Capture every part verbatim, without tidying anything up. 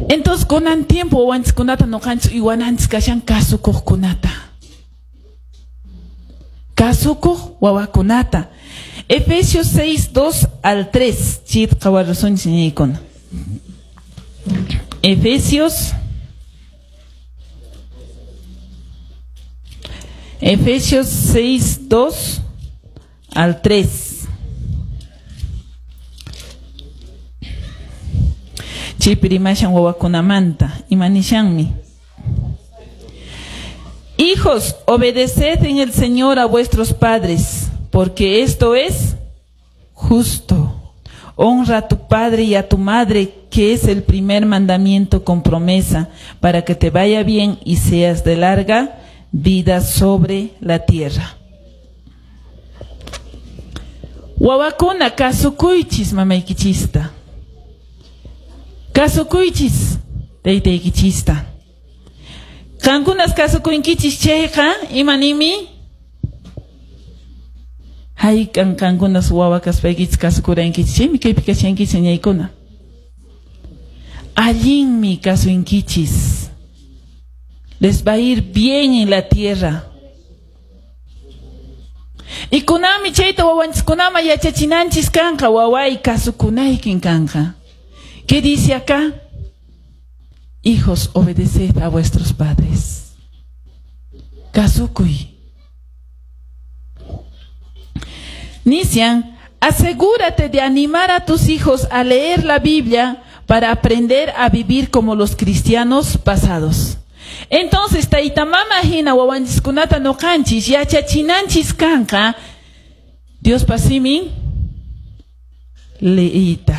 Entonces, kunan tiempo wawanchiskunata noqanchis uywananchis kashan kasukuqkunata. Kasukuq wawakunata. Efesios seis, dos al tres. Chit qhawarusunchis ñañaykuna. Efesios Efesios seis, dos al tres. Chaypi rimashan wawakunamanta. Imanishanmi. Hijos, obedeced en el Señor a vuestros padres, porque esto es justo. Honra a tu padre y a tu madre, que es el primer mandamiento con promesa, para que te vaya bien y seas de larga vida sobre la tierra. Wawakuna kasukuychis mamaykichista. Kasukuychis taytaykichista. Qankunas kasukuykichis chayqa imanimi? Hayk'an qankunas wawa kaspaykichis kasukurankichis chaymi kaypi kashankichis ñañaykuna. Allinmi kasunkichis. Les va a ir bien en la tierra. Y kunami chayta wawanchiskunama yachachinanchis kanqa waway kasukunaykin kanqa. ¿Qué dice acá? Hijos, obedeced a vuestros padres. Kasukuy. Nisian, asegúrate de animar a tus hijos a leer la Biblia para aprender a vivir como los cristianos pasados. Entonces, tayta mama hina wawanchiskunata noqanchis yachachinanchis kanqa Diospa simin leita.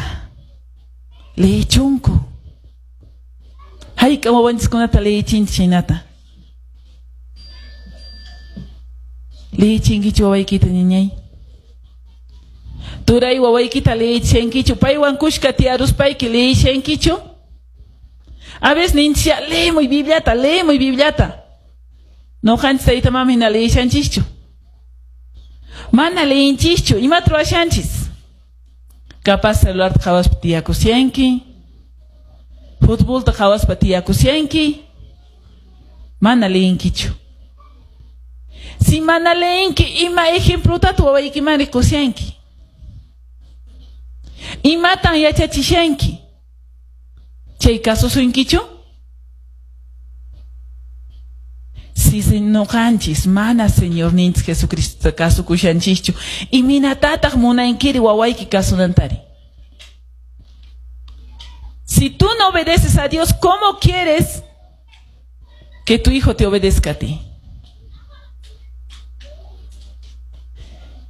Leechunku. Hayk'a wawanchiskunata leechinchis chaynata. Leechinkichu wawaykita ñañay. Turay wawaykita leechinkichu. Paywan kushka tiyaruspayki leechinkichu. A veces ninchia leemuy Bibliata, leemuy Bibliata. Noqanchis tayta mama hina leeshanchischu. Mana leenchischu, imata ruwashanchis. Capaz celularta qhawaspa tiyakushanki. Futbolta qhawaspa tiyakushanki. Mana leenkichu. Si mana leenki, ima ejemplotata wawaykiman rikushanki. Imatan yachachishanki. Chay kasusunkichu? Si noqanchis mana Señorninchis Jesucristo kasukushanchischu, iminatataq munankiri wawayki kasunantari. Si tú no obedeces a Dios, ¿cómo quieres que tu hijo te obedezca a ti?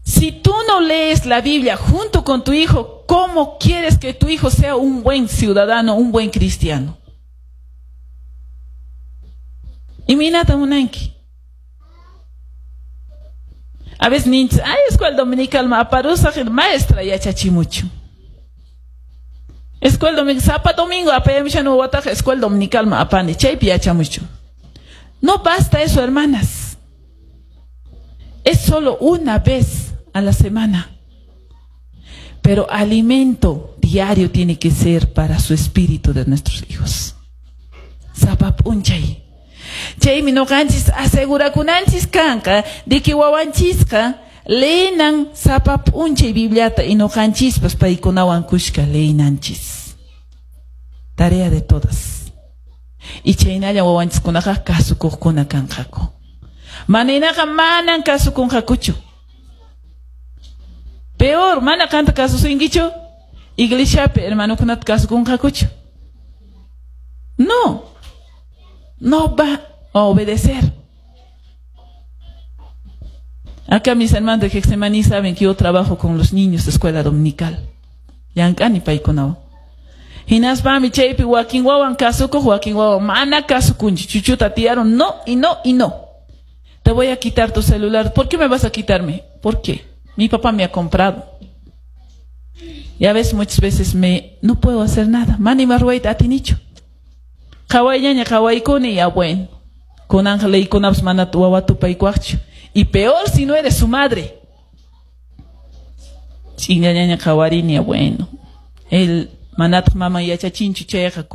Si tú no lees la Biblia junto con tu hijo, ¿cómo quieres que tu hijo sea un buen ciudadano, un buen cristiano? Iminata munanki. A veces ninchis, ay, escuela dominical ma aparusaq maestra yachachimuchu. Escuela dominical, sapa domingo apayamishan wawataqa escuela dominical ma apani, chaypi yachamuchu. No basta eso, hermanas. Es solo una vez a la semana. Pero alimento diario tiene que ser para su espíritu de nuestros hijos. Sapa p'unchay. Chaymi noqanchis asegurakunanchis kanqa de que wawanchisqa leenan sapa p'unchay Bibliata y noqanchispas paykunawan kushka leenanchis. Tarea de todas. Y chaynalla wawanchiskunaqa kasukuqkuna kanqaku. Manaynaqa manan kasukunqakuchu. Peor, mana qanta kasusunkichu, iglesiapi hermanokunata kasukunqakuchu. No, no va a obedecer. Acá mis hermanos de Getsemaní saben que yo trabajo con los niños de escuela dominical. Llank'ani paykunawan. Hinaspami chaypi wakin wawan kasukuq, wakin wawan mana kasukunchu. Chuchuta tiyaron, no y no y no. Te voy a quitar tu celular. ¿Por qué me vas a quitarme? ¿Por qué? Mi papá me ha comprado. Ya ves, muchas veces me no puedo hacer nada. Mana ima ruwayta atinichu. Qhawayllaña qhawaykuni, ya bueno. Kunanqa leykunapas mana wawa tupaykuwaqchu. Y peor si no eres su madre. Ch'inllañaña qhawarini, ya bueno. El manataq mama yachachinchu chayqa.